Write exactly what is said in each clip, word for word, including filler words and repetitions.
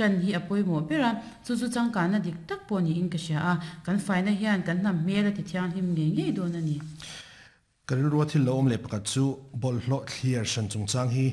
Chan hi apoimo bera chu chu changkana dik tak pawh niin ka hria a kan faina hian kan hnam hmel a ti thianghlim ngei ngei dawn a ni. Ka rilru a thil lo awm leh pakhat chu bawlhhlawh thliar hran chungchang hi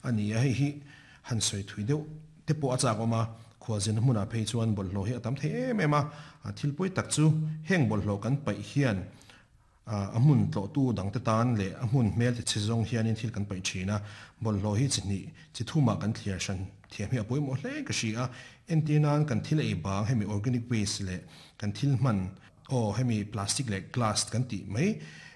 a ni a, hei hi han sawi thui deuh te pawh a chak awm a, khualzin hmunah phei chuan bawlhhlawh hi a tam thei em em a, thil pawi tak chu heng bawlhhlawh kan paih hian a hmun tlawhtu dangte tan leh a hmun hmel ti chhe zawng hianin thil kan paih thin a, bawlhhlawh hi chi hnih chi thumah kan thliar hran thiam hi a pawimawh hle ka hria a, entir nan kan thil ei bang hemi organic waste leh kan thil hman aw hemi plastic leh glass kan tih mai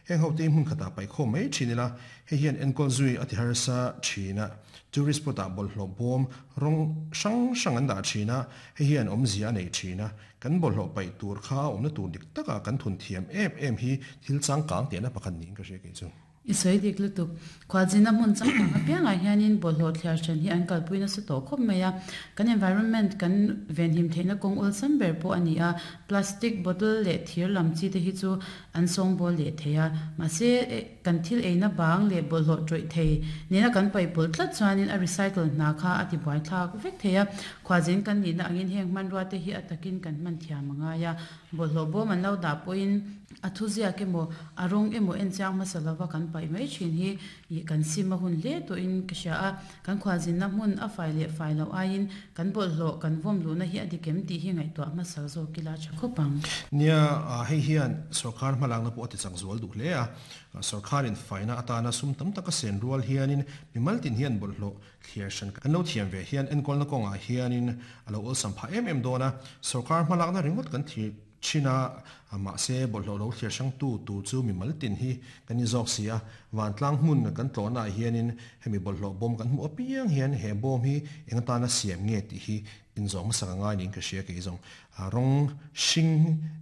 heng ho te hmun khatah paih khawm mai thin ila hei hian enkawl zui a ti harsa thin a, tourist spot ah bawlhhlawh bawm rawng hrang hrang an dah thin a, hei hian awmzia a nei thin a, kan bawlhhlawh paih tur kha awmna tur dik takah kan thun thiam em em hi thil changkang tihna pakhat niin ka hria kei chu. I sawi dik lutuk. Khualzina hmun changkang apiangah hianin bawlhhlawh thliar hran hi an kalpui nasa tawh khawp mai a, kan environment kan venhim theihna kawng awlsam ber pawh a ni a, plastic bottle leh thir lam chi te hi chu an sawngbawl leh thei a, mahse kan thil eina bang leh bawlhhlawh tawih thei nena kan paihpawlh tlat chuanin a recycle hna kha a ti buai thlak vek thei a, khualzin kan nihna angin heng hmanrua te hi a takin kan hman thiam a ngai a, bawlhhlawh bawm an lo dah pawhin a thu ziak emaw a rawng emaw en chiang hmasa lova kan paih mai thin hi ih kan sim a hun hle tawhin ka hria a, kan khualzinna hmun a fai leh fai loh aiin kan bawlhhlawh kan vawm luhna hi a dik em tih hi ngaihtuah hmasa zawk ila tha khawp ang. Nia, hei hian sorkar hmalakna pawh a ti chak zual duh hle a, sorkarin faina atana sum tam taka sen rual hianin mimal tin hian bawlhhlawh thliar hran kan lo thiam ve hian enkawlna kawngah hianin a lo awlsam phah em em dawn a, sorkar hmalakna ringawt kan thlir thin a, mahse bawlhhlawh lo thliar hrang tu tur chu mimal tin hi kan in zawk si a, vantlang hmun kan tlawhnaah hianin hemi bawlhhlawh bawm kan hmuh apiang hian he bawm hi eng atana siam nge tih hi inzawh hmasak a ngai niin ka hria kei zawng. Rawng hring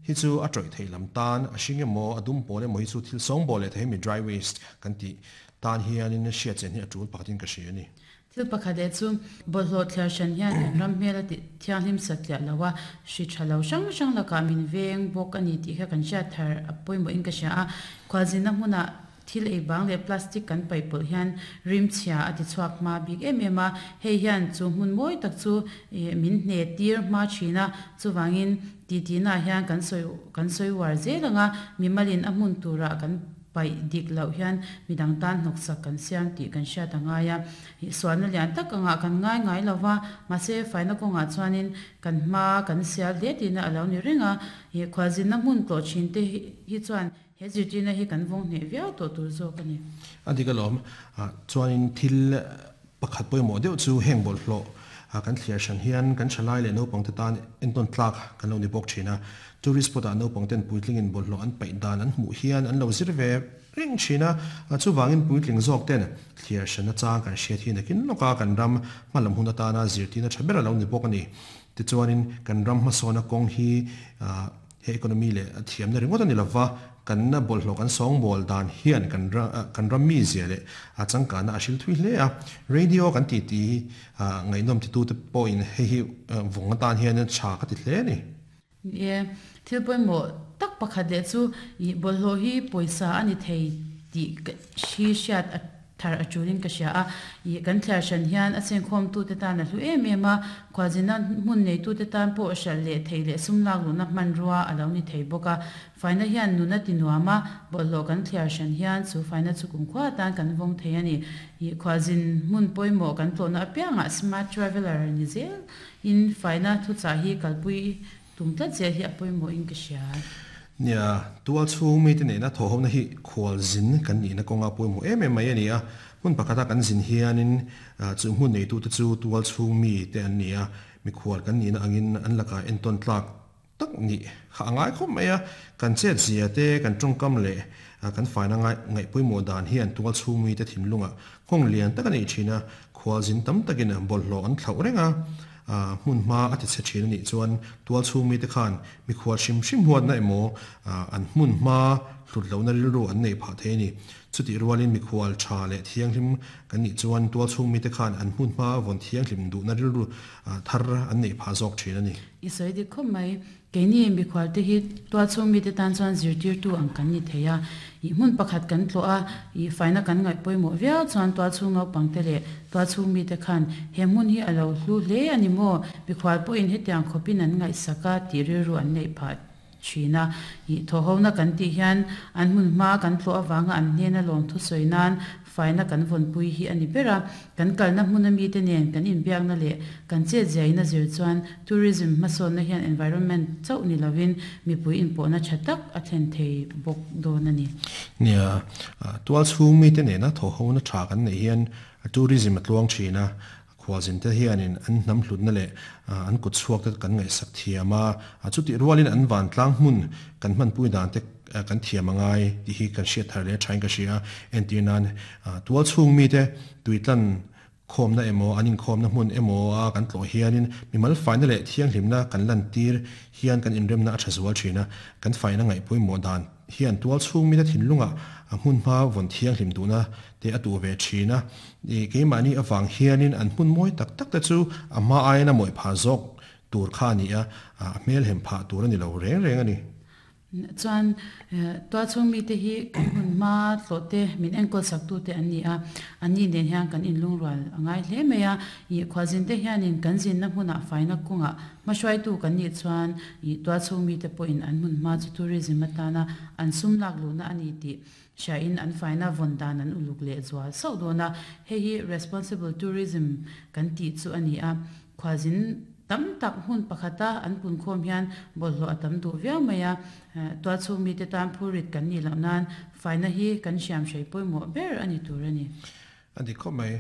hi chu a tawih theih lam tan a hring emaw a dum pawl emaw hi chu thil sawngbawl leh thei hemi dry waste kan tih tan hianin hriat chen hi a tul pakhatin ka hria a ni. Thil pakhat leh chu bawlhhlawh thliar hran hian kan ram hmel a ti thianghlim satliah lo a, hri tha lo hrang hrang lakah min veng bawk a ni tih kha kan hriat thar a pawimawhin ka hria a, khualzinna hmunah thil ei bang leh plastic kan paih pawlh hian rim chhia a ti chhuak hma bik em em a, hei hian chu hmun mawi tak chu min hne tir hma thin a, chuvangin titinaah hian kan sawi kan sawi uar zel ang a, mimalin a hmun turah kan paih dik loh hian midang tan hnawksak kan siam tih kan hriat a ngai a, sualna lian tak angah kan ngai ngai lo va, mahse faina kawngah chuanin kan hma kan sial hle tihna a lo ni reng a, khualzinna hmun tlawh thin te hi chuan he zirtirna hi kan vawng hneh viau tawh tur zawk a ni. A dik alawm, chuanin thil pakhat pawimawh deuh chu heng bawlhhlawh kan thliar hran hian kan thalai leh naupangte tan entawn tlak kan lo ni bawk thin a, tourist spot ah naupangten puitlingin bawlhhlawh an paih dan an hmuh hian an lo zir ve reng thin a, chuvangin puitling zawk ten thliar hran achang kan hriat hi nakin lawka kan ram hmalam hun atana zirtirna tha ber a lo ni bawk a ni. Tichuanin kan ram hmasawna kawng hi he economy leh a thiamna ringawt a ni lova, kan bawlhhlawh kan sawngbawl dan hian kan kan ram mi zia leh a changkana a hril thui hle a, radio kan ti ti ngaihnawm ti tu te pawhin hei hi vawng atan hian tha ka ti hle a ni. Ni e, thil pawimawh tak pakhat leh chu ih bawlhhlawh hi pawisa a ni thei tih hi hriat a thar a tulin ka hria a, ih kan thliar hran hian a chengkhawm tu te tan a hlu em em a, khualzina hmun nei tu te tan pawh hralh leh thei leh sum lak luhna hmanrua a lo ni thei bawk a, faina hian nuna ti nuam a, bawlhhlawh kan thliar hran hian chu faina chu kumkhua atan kan vawng thei a ni. Ih khualzin hmun pawimawh kan tlawhna apiangah smart traveller ni zel in faina thuchah hi kalpui tum tlat zel hi a pawimawhin ka hria. Nia, tual chhung mi te nena thawhawmna hi khualzin kan nihna kawnga pawimawh em em mai a ni a, hmun pakhata kan zin hianin chu hmun neitu te chu tual chhung mi te an ni a, mikhual kan nihna angin an lakah entawn tlak tak ni kha a ngai khawp mai a, kan chet zia te kan tawngkam leh kan faina ngai ngaih pawimawh dan hian tual chhung mi te thinlungah nghawng lian tak a nei thin a, khualzin tam takin bawlhhlawh an thlauh reng a, hmun hma a ti chhe thin a nih chuan tual chhung mi te khan mikhual hrim hrim huatna emaw an hmun hma hlut lohna rilru an nei phah thei a ni. Chuti rualin mi khual tha le thianghlim kan ni chuan tual chhung mi te khan an hmun hma von thianghlim du na rilru thar an nei pha zawk thin ani. I sawi dik khawp mai. Keini mi khual te hi tual chhung mi te tan chuan zirtir tu ang kan ni thei a. I hmun pakhat kan tlo a, i faina kan ngai pawimawh viau chuan tual chhung naupang te leh tual chhung mi te khan he hmun hi a lo hlu hle ani maw. Mi khual pawhin hetiang khawpin an ngaihsak a tih rilru an neih phah thin a. I thawhhona kan tih hian an hmun hma kan tlo awanga an hnena lawm thu sawi nan faina kan vawnpui hi ani ber a. Kan kalna hmun ami te nen kan inbiakna leh kan chet ziaina zir chuan tourism hmasawnna hian environment chauh ni lovin mipui inpawhna tha tak a thlen thei bawk dawn ani. Nia, tual chhung mi te nena thawhhona tha kan nei hian tourism a tluang thin a. Khualzin te hianin an hnam hlutna leh an kut chhuak te kan ngaihsak thiam a. Chuti rualin an van tlang hmun kan hmanpui dan te kan thiam angai tih hi kan hriat thar leh thain ka hria. Entir nan tual chhung mi te tuitlan khawmna emaw an inkhawmna hmun emaw a kan tlawh hianin mimal faina leh thianghlimna kan lan tir hian kan inremna a tha zual thin a. Kan faina ngaihpawimawh dan hian tual chhung mi te thinlunga a hmun hma vawn thianghlim duhna te a tu ve thin a. Keimahni awang hianin an hmun mawi tak tak te chu a hma aiin a mawi pha zawk tur kha ani a, a hmel hem phah tur ani lo reng reng ani. Chuan tual chhung mi te hi kan hmun hma tlawh te min enkawl sak tu te an ni a. An ni nen hian kan inlung rual angai hle mai a. I khualzin te hianin kan zinna hmunah faina kawngah hmahruaitu kan nih chuan i tual chhung mi te pawhin an hmun hma chu tourism atana an sum lak luhna ani tih hriain an faina vawn dan an uluk leh zual sauh dawn a. Hei hi responsible tourism kan tih chu ani a. Khualzin tam tak hmun pakhata an pun khawm hian bawlhhlawh a tam duh viau mai a. Tual chhung mi te tan phurit kan ni loh nan faina hi kan hriam hrei pawimawh ber ani tur ani. Ani khawp mai.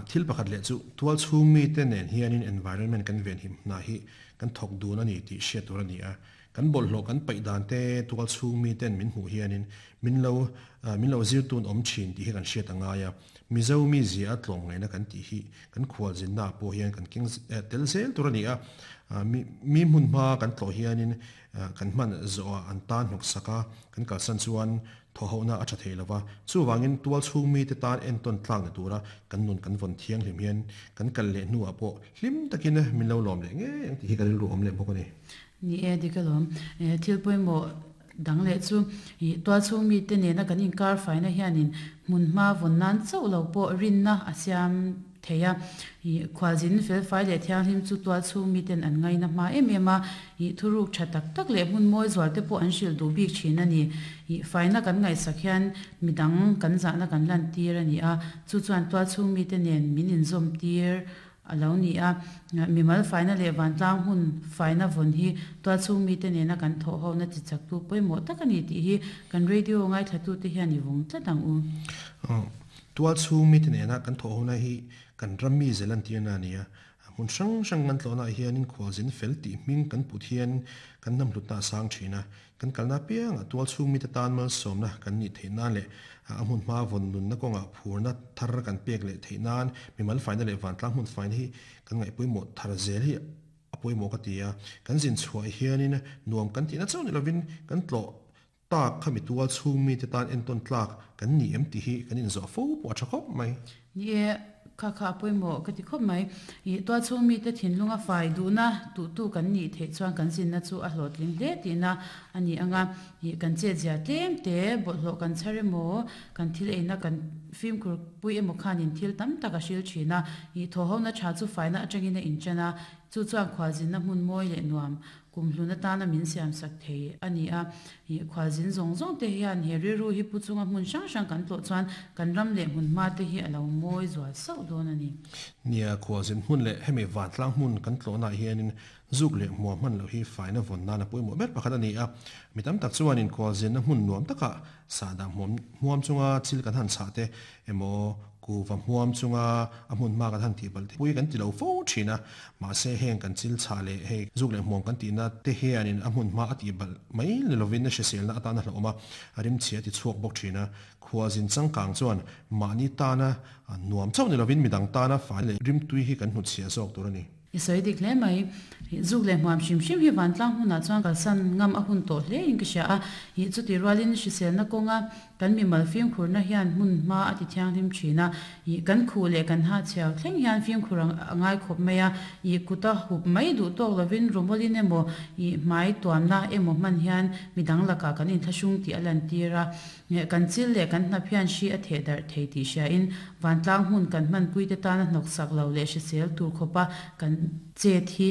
Thil pakhat leh chu tual chhung mi te nen hianin environment kan ven him hna hi kan thawk dun ani tih hriat tur ani a. Kan bawlhhlawh kan paih dan te tual chhung mi ten min hmuh hianin min lo min lo zir tun awm thin tih hi kan hriat angai a. Mizo mi zia a tlawm ngaihna kan tih hi kan khualzinna pawh hian kan keng tel zel tur ani a. Mi hmun hma kan tlawh hianin kan hman zawh an tan hnawk sak a, kan kalsan chuan thawhhona a tha thei lova. Chuwangin tual chhung mi te tan enton tlang na tura kan nun kan vawn thianghlim hian kan kal leh hnuah pawh hlim takin min lo lawm leh nge ang tih hi kan rilru awm leh bawk ani. Ni e dikalawm. Thil pawimawh dang leh chu i tual chhung mi te nena kan inkar faina hianin hmun hma vawn nan chauh lo pawh rinna a siam thei a. I khualzin fel fai leh thianghlim chu tual chhung mi ten an ngaina hma em em a. I thuruk tha tak tak leh hmun mawi zual te pawh an hrilh duh bik thin ani. I faina kan ngaihsak hian midang kan zahna kan lan tir ani a. Chu chuan tual chhung mi te nen min inzawm tir a lo ni a. Mimal faina leh vantlang hun faina vawn hi tual chhung mi te nena kan thawhhona chi chak tu pawimawh tak ani tih hi kan radio ngaithla tu te hian i vawng tlat ang u. Tual chhung mi te nena kan thawhhona hi kan ram mi zelan tirna ani a. Hmun hrang hrang kan tlawhna hianin khualzin fel tih hming kan put hian kan hnam hlutna a sang thin a. Kan kalna pianga tual chhung mi te tan malsawmna kan nih theih nan leh a hmun hma vawn nunna kawngah phurna thar kan pek leh theih nan mimal faina leh vantlang hmun faina hi kan ngaihpawimawh thar zel hi a pawimawh ka ti a. Kan zin chhuah hianin nuam kan tihna chauh ni lovin kan tlawh tak khami tual chhung mi te tan enton tlak kan ni em tih hi kan inzawh fo pawh a tha khawp mai. Ni e kha kha pawimawh ka ti khawp mai. I tual chhung mi te thinlunga fai duhna tu tu kan nih theih chuan kan zinna chu a hlawhtling hle tihna ani anga. I kan chet zia tlem te bawlhhlawh kan chhar emaw kan thil eina kan fimkhur pui emaw khanin thil tam tak a hril thin a. I thawhhona tha chu faina atangin a inchan a. Chu chuan khualzinna hmun mawi leh nuam kum hluna tana min siam sak thei ani a. I khualzin zawng zawng te hian he rilru hi pu chunga hmun hrang hrang kan tlawh chuan kan ram leh hmun hma te hi a lo mawi zual sauh dawn ani. Nia khualzin hmun leh hemi vantlang hmun kan tlawhna hianin zuk leh hmuam hman lo hi faina vawn nan a pawimawh ber pakhat ani a. Mi tam tak chuanin khualzinna hmun nuam taka sahdah hmuam hmuam chunga thil kan han chah te emaw ku va hmuam chunga a hmun hma kan han tih bal te pui kan ti lo fo thin a. Mahse heng kan chil chah leh hei zuk leh hmuam kan tihna te hianin a hmun hma a tih bal mai ni lovin a hriselna atana hlawm a. A rim chhia ti chhuak bawk thin a. Khualzin changkang chuan mahni tana nuam chauh ni lovin midang tana fai leh rim tui hi kan hnutchhiah zawk tur ani. I sawi dik hle mai. Zuk leh hmuam hrim hrim hi vantlang hmunah chuan kalsan ngam a hun tawh hle in ka hria a, ih chuti rualin hriselna kawnga kan mimal fimkhurna hian hmun hma a ti thianghlim thin a, ih kan khuh leh kan ha chhiau thleng hian fimkhur a ngai khawp mai a, ih kuta hup mai duh tawk lovin rawmawlin emaw ih hmai tuamna emaw hman hian midang lakah kan inthlahrung tih a lan tir a, kan chil leh kan hnap hian hri a theh darh thei tih hriain vantlang hmun kan hmanpui te tana hnawksak lo leh hrisel tur khawpa kan chet hi.